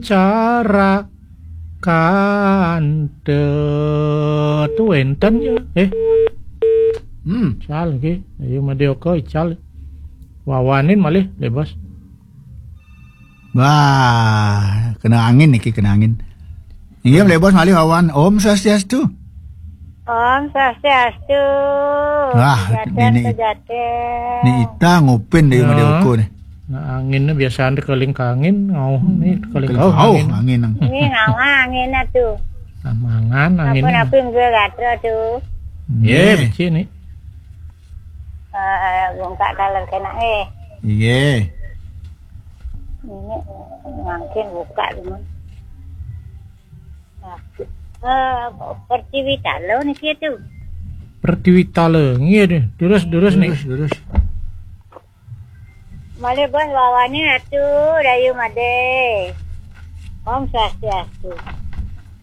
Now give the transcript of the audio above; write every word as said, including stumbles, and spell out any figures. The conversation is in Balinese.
Cara kante tu enten ya. Eh, hmm, cal ki. Ayo madeo ko ical. Wawanin malih, Bos. Wah, kena angin niki, kena angin. Inggih, Bos, malih wawan. Om Swastiastu. Om Swastiastu. Wah, Jaten ini, Pejaten. Ini ita ngupin dari Madeo ko nih. Nah, anginnya biasa anda keling ke angin, ngauh nih, keling ngauh angin. Angin. Ini ngauh angin tuh. Nah, mangan angin. Apa-apa enggak gatra tuh. Iya, becik nih. Eh, bungkak kaler kena eh. Iya. Ini mungkin buka dulu. Nah, eh, Pertiwi Talo niki tuh. Pertiwi Talo, iya deh. Terus, terus nih. Terus, terus. Malih Bos wawanin atuh, Dayu Made. Om Swastiastu.